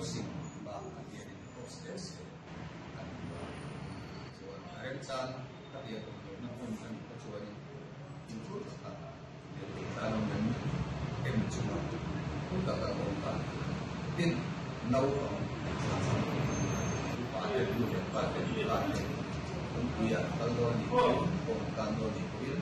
Crossing bakah hianin cross hle se an duh a, chuan a remchang khatiang awm lohna hmun a nih kha chuanin fimkhur taka lirthei tlan awm em em chunga phur taka awm kha tin naupang thla upa te nu leh pa te nula te kawngpuiah an kal dawn a nih pawhin kawng an tlan dawn a nih pawhin.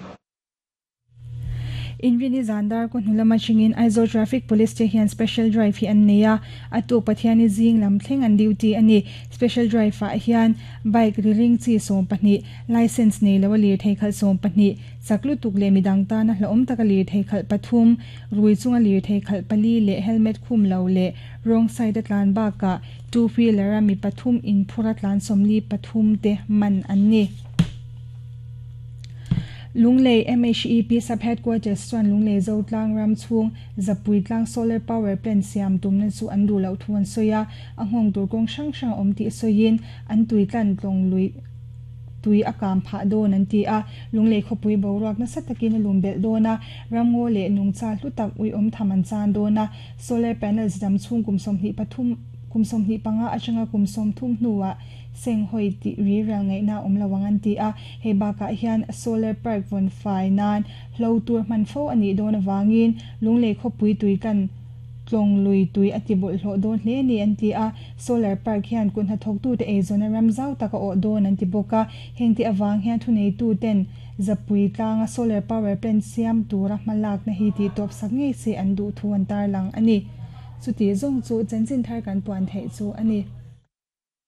Inrini zan dar kaw hnu lama chingin Aizawl Traffic Police te hian Special Drive hi an nei a, a tuk Pathiani zing lam thleng an duty a ni. Special Drive ah hian Bike ri ring chi 12, Licence nei lo a lirthei khalh 12, chak lutuk leh midang tana hlauhawm taka lirthei khalh pathum, rui chunga lirthei khalh pali leh helmet khum lo leh wrong side a tlan bakah two wheeler a mi pathum inphur a tlan 43 te man an ni. Lunglei MHEP Sub Headquarters chuan Lunglei Zotlang ram chhung Zapui tlang Solar Power Plant siam tumna chu an duh loh thu an sawi a, a nghawng tur kawng hrang hrang a awm tih sawiin an tui tlan tlawng lui tui a kam phah dawn an ti a. Lunglei khawpui boruak nasa takin a lum belh dawn a, ramngaw leh nungcha hlu tak uiawm tham an chan dawn a, Solar Panels dam chhung kum 23 kum 25 atanga kum 30 hnuah Senghawi tih ri rial ngaihna a awm lo ang an ti a, hei bakah hian Solar Park vawn fai nan hlo tur hman fo a nih dawn avangin Lunglei khawpui tui tlan tlawng lui tui a ti bawlhhlawh dawn hle a ni an ti a, Solar Park hian kut hnathawktute eizawna ram zau tak a awh dawn an ti bawk a, hengte avang hian thuneituten Zapui tlanga Solar Power Plant siam tura hmalakna hi tihtawp sak ngei se an duh thu an tarlang a ni. Chuti zawng chu chanchin thar kan puan theih chu a ni.